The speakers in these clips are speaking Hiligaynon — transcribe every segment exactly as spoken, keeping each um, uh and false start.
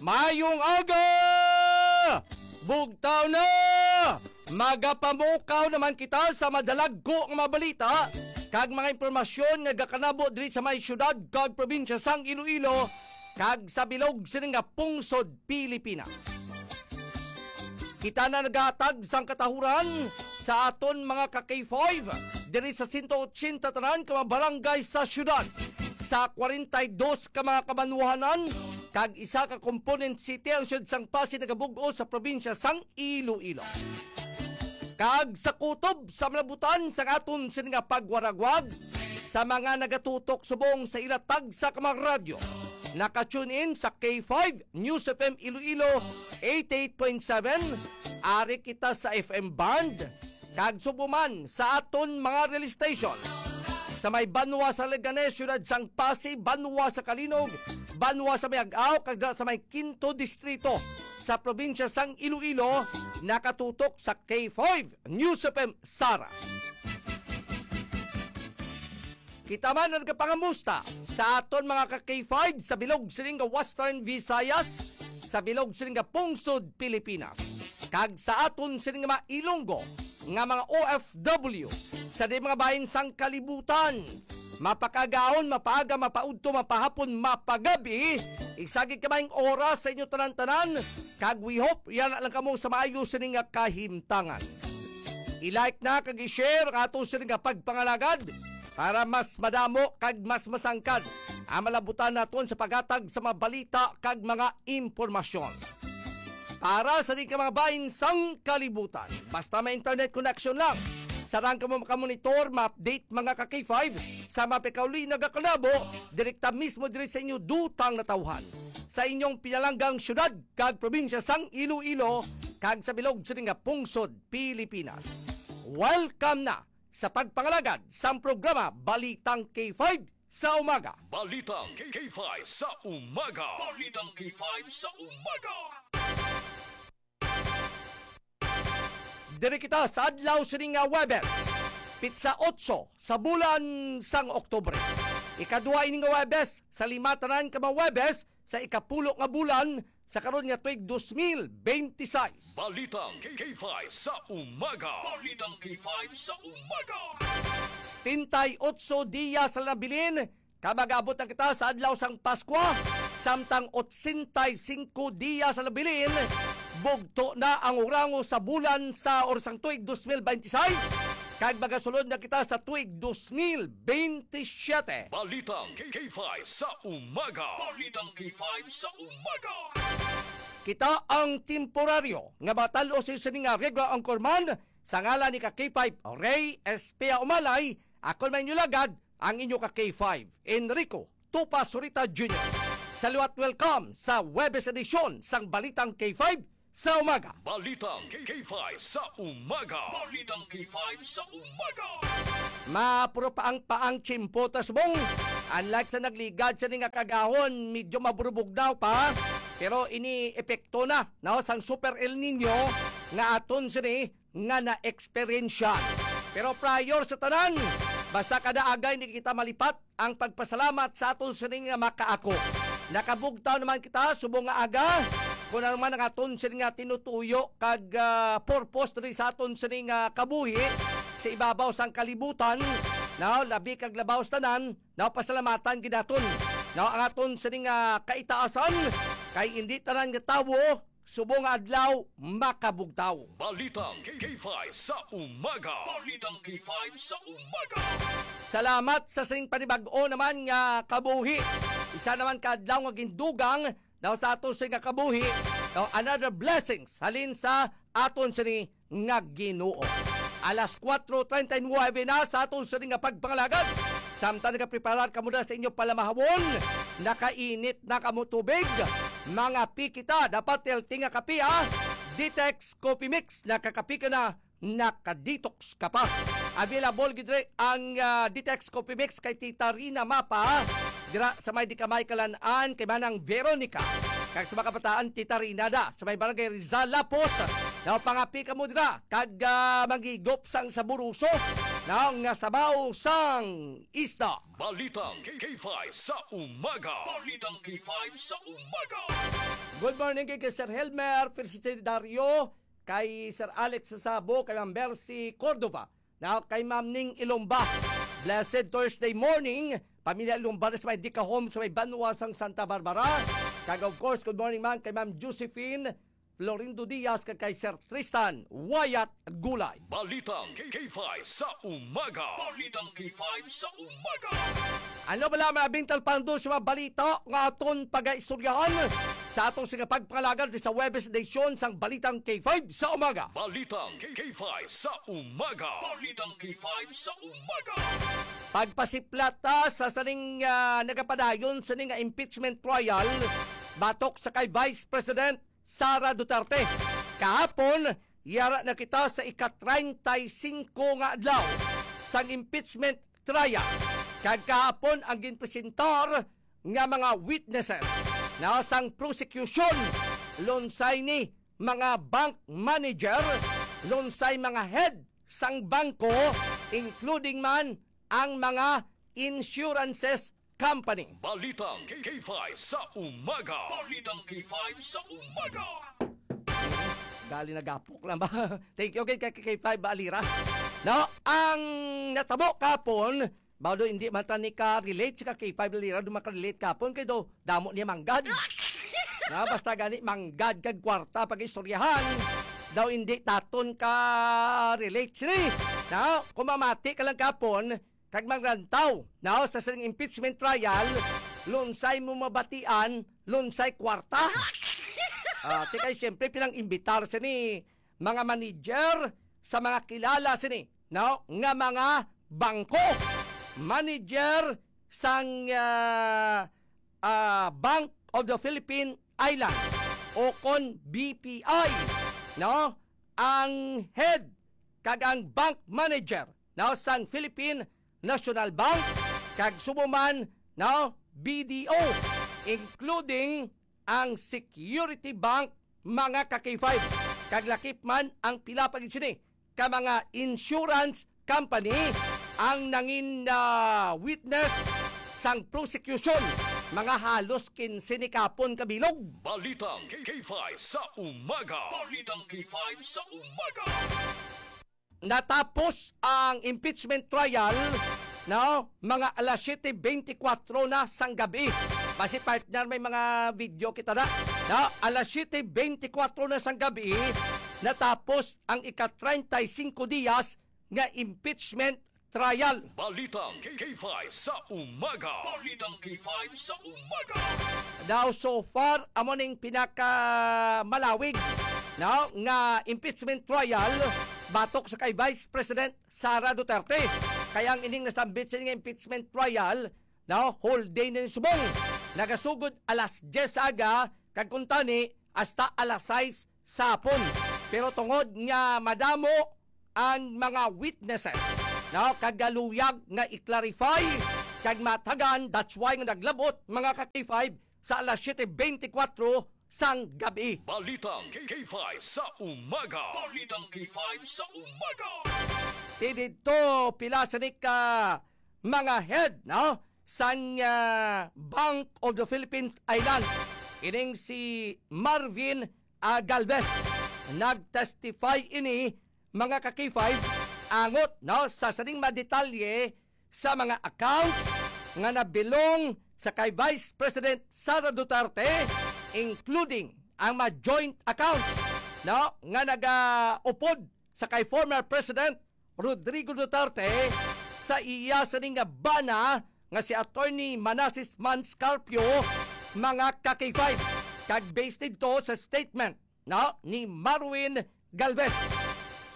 Mayong aga! Bugtaw na! Magapamukaw naman kita sa madalagko nga mga balita kag mga impormasyon nga gakanabo diri sa may siyudad kag probinsya sang Iloilo kag sa bilog sini nga pungsod Pilipinas. Kita na naghatag sang katahuran sa aton mga ka K five diri sa sento otsenta tanan ka mga barangay sa siyudad, sa kwarenta y dos ka mga kabanwahanan, kag isa ka component city ang siyudad sang Passi nagabug-os sa probinsya sang Iloilo. Kag sa kutob sa malabutan sa aton sini nga pagwaragwag sa mga nagatutok subong sa ila tagsa ka mga radyo, naka-tune in sa K five News F M Iloilo eighty-eight point seven, ari kita sa F M band, kag subong man sa aton mga relay station sa may banwa sa Leganes, siyudad sang Passi, banwa sa Calinog, banwa sa Miag-ao, kag dira sa may Quinto Distrito sa probinsya sang Iloilo, nakatutok sa K five News F M Sara. Kita man ang nagapangamusta sa aton mga ka K five sa bilog sining nga Western Visayas, sa bilog sining nga pungsod Pilipinas, kag sa aton sining nga mga Ilonggo nga mga O F W sa di mga bahin sang kalibutan. Mapakagahon, mapaaga, mapaudto, mapahapon, mapagabi, isa gid ka maayong oras sa inyo tanan-tanan, kag we hope yana lang kamo sa maayo sini nga kahimtangan. I-like na kag i-share ang ato sini nga pagpangalagad para mas madamo kag mas masangkad ang malabutan naton sa paghatag sa mga balita kag mga impormasyon. Para sa di ka mga bahin sang kalibutan, basta may internet connection lang, sarang kamo makamonitor, ma-update mga ka K five sa mga pikauli nagakalabo direkta mismo diri sa inyo dutang natawhan sa inyong pinalanggang syudad kag probinsya sang Iloilo kag sa bilog sini nga pungsod Pilipinas. Welcome na sa pagpangalagad sang programa Balitang K five sa umaga. Balitang K five sa umaga. Balitang K five sa umaga. Diri kita sa adlaw sini nga Huwebes, pitsa otso sa bulan sang Oktubre. Ikaduha ini nga Huwebes sa lima tanan ka mga Huwebes sa ikapulo nga bulan sa karon nga tuig dos mil bente seis. Balitang K five sa umaga. Balitang K five sa umaga. Setenta y ocho diyas na nabilin ka mag-abot na kita sa adlaw sang Paskwa, samtang otsenta y singko diyas na nabilin bugto na ang hurango sa bulan sa or sang tuig dos mil bente seis, kag magasulod na kita sa tuig dos mil bente siyete. Balitang K five sa umaga. Balitang K five sa umaga. Kita ang temporaryo nga batalo sa sini nga regular anchorman sa ngalan ni ka K five Ray Espia Umalay. Ako man inyo lagad, ang inyo ka K five, Enrico Tupa Surita Junior. Sa liwat, welcome sa Huwebes edisyon sang Balitang K five sa umaga. Balitang K five sa umaga. Balitang K five sa umaga. Mapuro pa ang paang tiyempo ta subong. Unlike sa nagligad sini nga kagahon, medyo maburubugnaw pa. Pero ini epekto na, no, sang Super El Nino nga aton sini nga na-eksperyensya. Pero prior sa tanan, basta kada agay hindi kita malipat ang pagpasalamat sa aton sining nga makaako. Nakabugtaw naman kita subong nga aga, kung ano man ang aton sining nga tinutuyo kag, ah, purpose diri sa aton sining nga kabuhi sa ibabaw sang kalibutan, no, labi kag labaw sa tanan, no, pasalamatan gid naton, no, ang aton sining nga kaitaasan, kay hindi tanan nga tawo subong nga adlaw makabugtaw. Balitang K five sa umaga. Balitang K five sa umaga. Salamat sa sing panibag-o naman nga kabuhi. Isa naman ka adlaw nga gindugang daw sa ato sing nga kabuhi. Daw another blessings halin sa aton sini nga Ginoo. Alas kuwatro treinta y nueve na sa aton sini nga pagpangalagad. Samtang nagapreparar kamo na sa inyo palamahawon, nakainit na kamo tubig, mga pikita, dapat healthy nga kape, ha? Detox Coffee Mix, nakakape ka na, naka-detox ka pa. Available gid diri ang, ah, Detox Coffee Mix kay Tita Rina Mapa, dira sa may Dikamay Kalan-an kay Manang Veronica. Kag sa mga kabataan, Tita Rina da sa may Barangay Rizal, Lapos. Daw pangapi kamo dira kag, ah, manghigop sang saburuso na nga sabaw sang isda. Balitang K five sa umaga. Balitang K five sa umaga. Good morning kay, kay Sir Helmer, Felicity Dario, kay Sir Alex Sabo, kay Ma'am Mercy Cordova, na kay Ma'am Ning Ilomba. Blessed Thursday morning, pamilya Ilomba na sa may Dica Home sa may Banwa sang Santa Barbara. Kag of course, good morning man kay Ma'am Josephine Florindo Diaz kag kay Sir Tristan Wyatt Gulay. Balitang K five sa umaga. Balitang K five sa umaga. Ano bala ang mga bintal pando sa mga balita nga aton pagaistoryahan sa atong sige pagpangalagad sa Webes edition sang Balitang K five sa umaga? Balitang K five sa umaga. Balitang K five sa umaga. Pagpasiplat ta sa sining, ah, nagapadayon sini nga impeachment trial batok sa kay Vice President Sara Duterte. Kahapon, yara na kita sa ika-treinta y cinco nga adlaw sang impeachment trial. Kag kahapon ang ginpresentar nga mga witnesses na sang prosecution, lunsay ni mga bank manager, lunsay mga head sang bangko, including man ang mga insurances company. Balitang K five sa umaga. Balitang K five sa umaga. Gali, nagapok lang ba? Thank you kay K five Alira. No, ang natabo kapon, baw daw hindi man ta ni ka-relate si ka K five Alira, daw makarelate kapon kay daw damo niya manggad. Na, basta gani manggad kag kwarta pag-istoryahan, daw hindi taton ka-relate sini. Na, kung mamati ka lang kapon, kag mangrantaw, no, sa sining impeachment trial, lunsay mo mabatian, lunsay kwarta. Ah, ti kay siyempre pinang-imbitar sini mga manager sa mga kilala sini, no, nga mga bangko. Manager sang, ah, ah, Bank of the Philippine Island o kon B P I, no, ang head kag ang bank manager, no, sang Philippine National Bank, kag subong man, no, B D O, including ang Security Bank, mga ka-K five, kag lakip man ang pila pa gid sini ka mga insurance company ang nangin, ah, witness sang prosecution, mga halos kinse ni kapon kabilog. Balitang K five sa umaga. Balitang K five sa umaga. Natapos ang impeachment trial, no, mga alas siyete beintikwatro na sang gabi. Basi, partner, may mga video kita na. No, alas siyete beintikwatro na sang gabi, natapos ang ika-treinta y cinco diyas nga impeachment trial. Balitang K five sa umaga. Balitang K five sa umaga. Now, so far, amo ning pinakamalawig, no, nga impeachment trial batok sa kay Vice President Sara Duterte. Kaya ang ining nasambit sa nga impeachment trial, no, whole day na ni subong. Nagasugod alas diyes sa aga, kag kuntani hasta alas sais sa hapon. Pero tungod nga madamo ang mga witnesses, no, kag galuyag nga i-clarify kag matagan, that's why nga naglabot, mga ka-K five, sa alas siyete beintikwatro sang gabi. Balitang K five sa umaga. Balitang K five sa umaga. Ti didto, pila sa ni ka mga head, no, sang, ah, Bank of the Philippine Islands, ining si Marvin, ah, Galvez. Nag-testify ini, mga ka-K five, angot, no, sa sining mga detalye sa mga accounts nga nabilong sa kay Vice President Sara Duterte, including ang mga joint accounts, no, nga nagaupod sa kay former President Rodrigo Duterte sa iya sini nga bana nga si Attorney Manases Mans Carpio, mga ka-K five. Kag based didto sa statement, no, ni Marwin Galvez,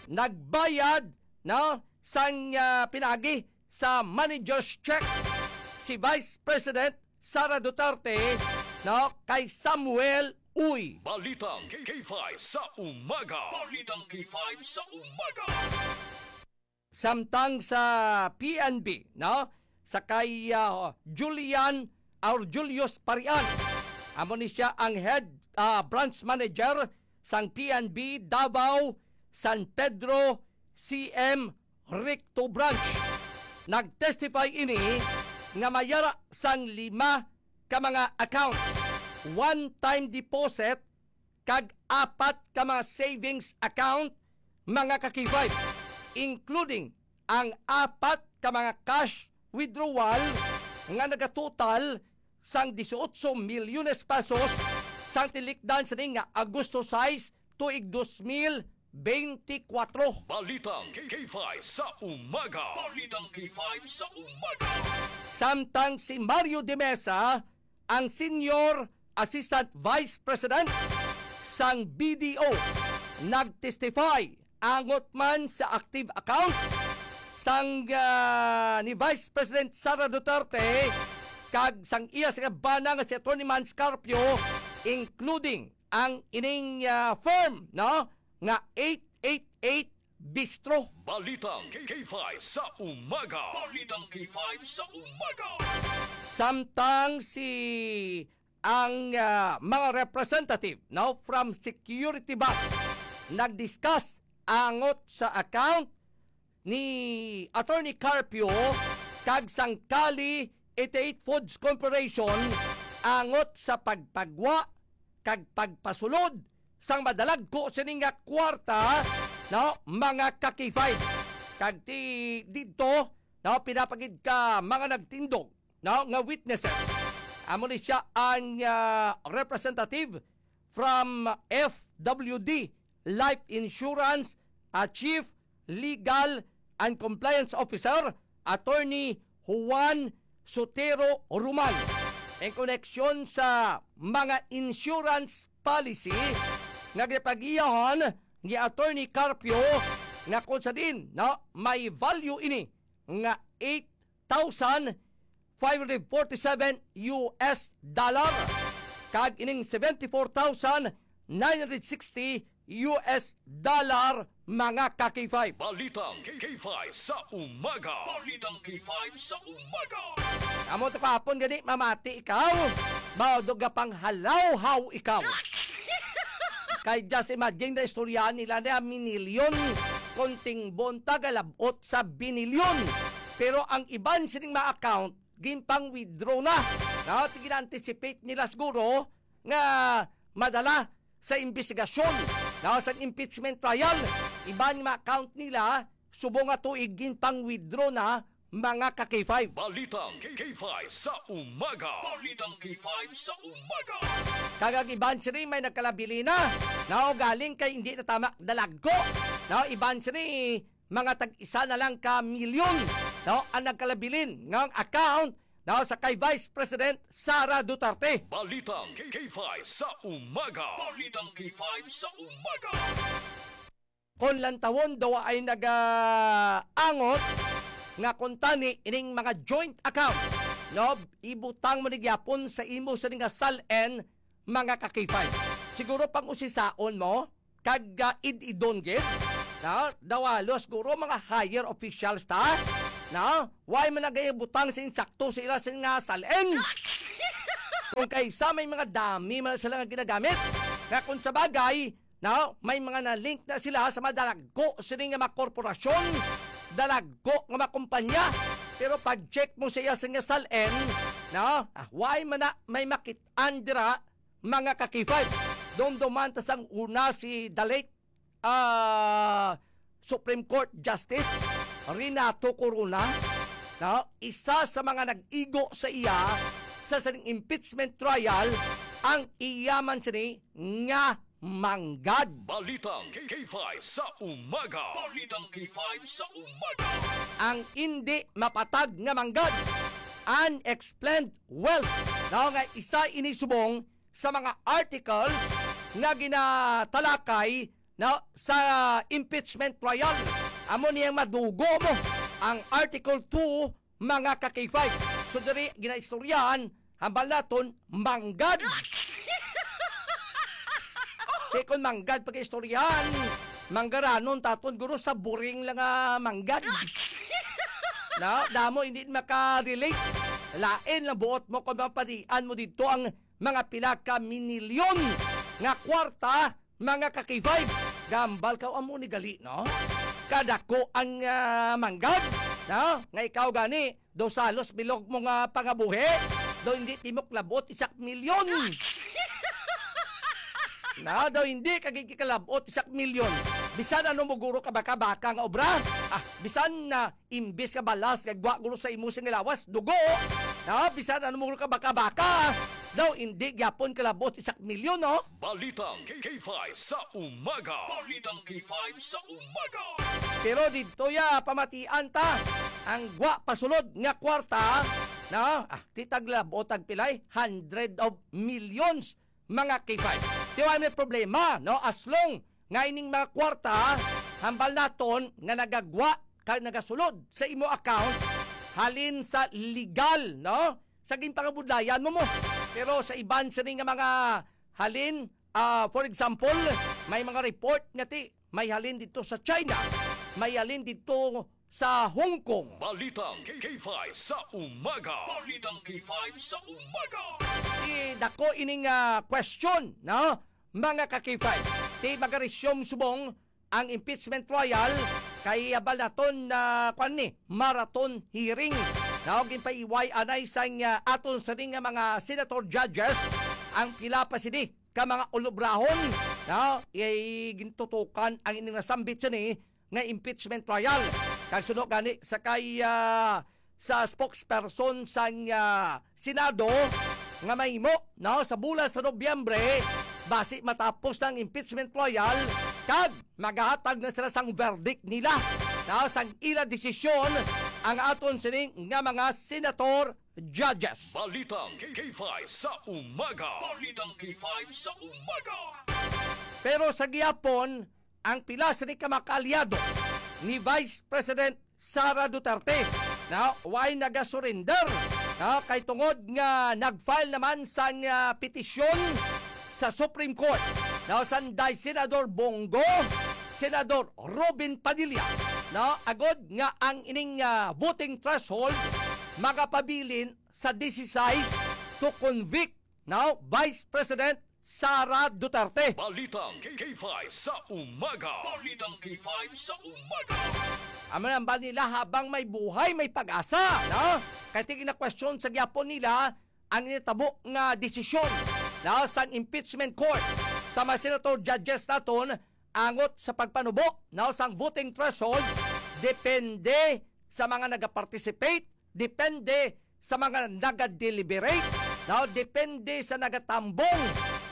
nagbayad, no, sang, ah, pinaagi sa manager's check si Vice President Sara Duterte, no, kay Samuel Uy. Balitang K five sa umaga. Balitang K five sa umaga. Samtang sa P N B, no, sa kay, ah, Julian or Julius Parian, amo ni siya ang head, ah, branch manager sang P N B Davao San Pedro C M Recto Branch. Nag-testify ini nga may yara sang lima ka mga accounts one-time deposit kag apat ka mga savings account, mga ka-K five, including ang apat ka mga cash withdrawal nga nagatotal sang dieciocho milyones pesos sang tinikdan sini nga Agosto sais, tuig dos mil bente kwatro. Balitang K five sa umaga. Balitang K five sa umaga. Samtang si Mario de Mesa, ang Senior Assistant Vice President sang B D O, nag-testify angot man sa active accounts sang, ah, ni Vice President Sara Duterte kag sang iya sing bana nga si Attorney Mans Carpio, including ang ining, ah, firm, no, nga eight eight eight Bistro. Balitang K five sa umaga. Balitang K five sa umaga. Samtang si ang, ah, mga representative, no, from Security Bank nag-discuss angot sa account ni Attorney Carpio kag sang Kali eighty-eight Foods Corporation angot sa pagpagwa kag pagpasulod sang madalagko sini nga kwarta, no, mga ka-K five. Kag ti-, didto, no, pinapagid ka mga nagtindog, no, nga witnesses. Amo ni siya ang, ah, representative from F W D Life Insurance, ah, Chief Legal and Compliance Officer, Attorney Juan Sotero Roman, in koneksyon sa mga insurance policy nga ginapagiyahan ni Attorney Carpio, nga kung sa diin, no, may value ini nga eight thousand five hundred forty-seven U S dollar, kag ining seventy-four thousand nine hundred sixty U S dollar, mga ka-K five. Balitang K five sa umaga. Balitang K five sa umaga. Amo to kahapon gani, mamati ikaw, maudog nga panghalawhaw ikaw. Kay just imagine na istoryahan nila na minilyon, konting bonta galabot sa binilyon. Pero ang iban sining mga account, ginpang-withdraw na. No, gina-anticipate nila siguro nga madala sa imbestigasyon, no, sa impeachment trial. Iban nga account nila, subong nga tuig ginpang-withdraw na, mga ka-K five. Balitang K five sa umaga. Balitang K five sa umaga. Kag ang iban sini may nagkalabilin na, no, galing kay hindi na tama dalagko. No, iban sini mga tag-isa na lang ka milyon, no, ang nagkalabilin nga account, no, sa kay Vice President Sara Duterte. Balitang K five sa umaga. Balitang K five sa umaga. Kon lantawon daw ay nagaangot nga kuntani ining mga joint account, no, ibutang mo ni gyapon sa imo sini nga SALN, mga ka-K five. Siguro pang-usisaon mo, kag, ah, id-idon gid, no? Daw halos guro mga higher officials ta, no? Why man nagay butang sa insakto sa ila sini nga SALN? Kung kaysa may mga dami man sila nga ginagamit, nga kung sa bagay, no, may mga na-link na sila sa mga dalagko sini nga mga korporasyon, dalagko nga mga kumpanya. Pero pag-check mo sa iya sini nga SALN, no? Ah, why man na may makit-an dira, mga ka-K five? Dumduman ta sang una si the late, ah, Supreme Court Justice Renato Corona, no? Isa sa mga nag-igo sa iya sa sining impeachment trial, ang iya man sini nga manggad. Balitang K five sa umaga. Balitang K five sa umaga. Ang indi mapatag nga manggad, unexplained wealth, no, nga isa ini subong sa mga articles nga ginatalakay, no, sa impeachment trial. Amo niyang madugo mo ang Article two, mga ka-K five. So, diri ginaistoryahan, hambal naton, manggad. Kay kung manggad pag-istoryahan, manggaranon taton, guro, sa boring lang nga manggad. No, damo hindi maka-relate. Lain lang buot mo kung mapadian mo dito ang mga pila ka minilyon nga kwarta, mga ka-K five. Gambal ka, amo ni gali, no? Kadako ang, ah, manggad, no? Nga ikaw gani, do salos bilog mo nga pangabuhi, do hindi timok labot isak milyon. Na daw hindi ka gikalabot isa ka milyon. Bisan ano mo guro ka baka-baka nga obra. Ah, bisan na imbis ka balas kag wa guro sa imo sing lawas, dugo. Na bisan ano mo guro ka baka-baka. Daw hindi gyapon kalabot isa ka milyon, no? Balitang K five sa umaga. Balitang K five sa umaga. Pero dito ya pamatian ta ang gwa pasulod nga kwarta, no? Ah, ti taglabot tag pilay, hundred of millions, mga K five. Di wala may problema, no? As long nga ining mga kwarta, hambal naton nga nagagwa kag nagasulod sa imo account halin sa legal, no? Sa ginpangabudlayan mo mo. Pero sa iban sini nga mga halin, ah, for example, may mga report nga ti may halin dito sa China, may halin dito sa Hong Kong. Balitang K five sa umaga. Balitang K five sa umaga. Di dako ining, ah, question, no? Mga ka K five, di magaresume subong ang impeachment trial kay abal naton na, kwan ni, marathon hearing. Naog ginpaiway anay sang, ah, aton sini nga mga senator judges ang pila pa sini ka mga ulubrahon, no? Iyay gintutukan ang ining nasambit sini nga impeachment trial. Kag suno gani sa kay, ah, sa spokesperson sang, ah, Senado nga mahimo, no, sa bulan sa Nobyembre, basi matapos na ang impeachment trial kag magahatag na sila sang verdict nila, no, sang ila desisyon ang aton sining nga mga senator judges. Balitang K five sa umaga. Balitang K five sa umaga. Pero sa gihapon, ang pila sini ka mga kaalyado ni Vice President Sara Duterte na way nagasurrender, na kay tungod nga nag-file naman sang, ah, petisyon sa Supreme Court, na sanday Senador Bong Go, Senador Robin Padilla, na agod nga ang ining, ah, voting threshold magapabilin sa disisais to convict, now Vice President Sara Duterte. Balitang K five sa umaga. Balitang K five sa umaga. Amo nang bal nila, habang may buhay, may pag-asa, no? Kay ti ginakwestiyon sa gyapon nila ang nitabo nga desisyon, no, sang impeachment court sa mga senator judges naton angot sa pagpanubo, no, sang voting threshold depende sa mga nagaparticipate, depende sa mga naga-deliberate, no, depende sa nagatambong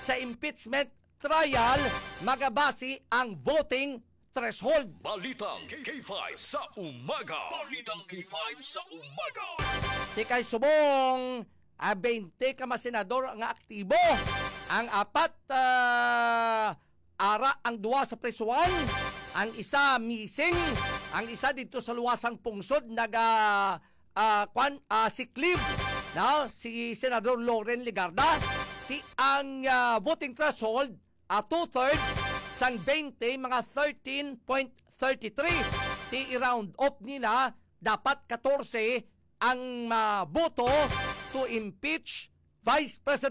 sa impeachment trial, magabasi ang voting threshold. Balitang K five sa umaga. Balitang K five sa umaga. Ti kay subong, ah, twenty ka mga senador nga aktibo. Ang apat, ah, ara ang duwa sa prisuhan, ang isa missing, ang isa dito sa luwasang pungsod naga, ah, kwan, ah, sick leave, no? Si Senador Loren Legarda. Ti ang, ah, voting threshold, ah, two-third sang twenty, mga thirteen point thirty-three. Ti i-round off nila, dapat katorse ang maboto to impeach Vice President